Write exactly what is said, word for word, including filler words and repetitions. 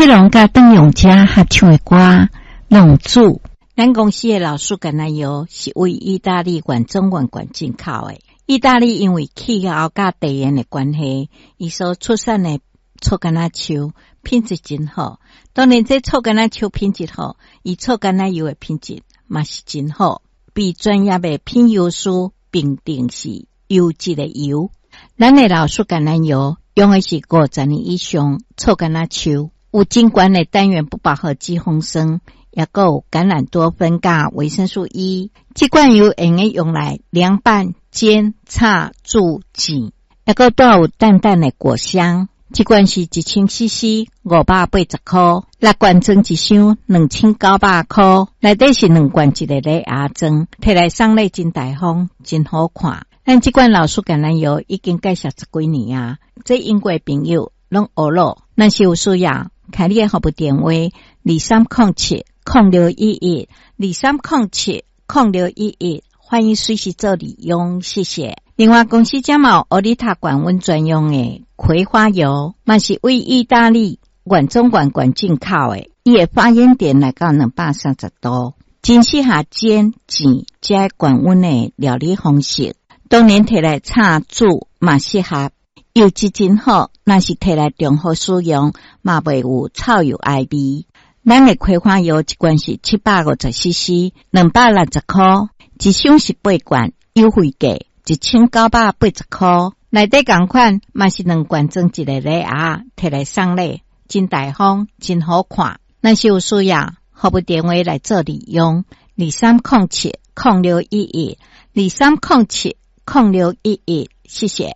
鐵龍佮鄧永嘉合唱的歌《浪子》。咱公司的老樹橄欖油是為意大利原種原罐進口的。意大利因為氣候佮地緣的關係，伊所出產的醋柑仔樹品質真好。當然，這醋柑仔樹品質好，伊醋柑仔油的品質嘛是真好，被專業的品油師評定是優質的油。咱的老樹橄欖油用的是五十年以上醋柑仔樹，有真懸的單元不飽和脂肪酸，也閣有橄欖多酚佮維生素 E。這罐油會用得用來涼拌、煎、炒、煮、煎，也閣帶有淡淡的果香。這罐是一千 C C 五百八十箍，六罐裝一箱兩千九百箍，內底是兩罐一個禮盒裝，提來送禮真大方，真好看。咱這罐老樹橄欖油已經介紹十幾年啊，這用過的朋友攏呵咾。若是有需要，開你的服務電話二三空七空六一一二三空七空六一一，歡迎隨時做利用，謝謝。另外，公司遮嘛有奧利塔罐溫專用的葵花油，嘛是為意大利原種原罐進口的，伊的發煙點來到兩百三十度，真適合煎、煎這高溫的料理方式。當然提來炒煮嘛適合，油質真好，若是提來重複使用，嘛袂有臭油埃味。咱的葵花油一罐是七百五十 C C，兩百六十箍，一箱是八罐，優惠價一千九百八十箍。內底仝款嘛是兩罐裝一個禮盒，提來送禮，真大方，真好看。若是有需要，服務電話來做利用：二三空七空六一一，二三空七空六一一，謝謝。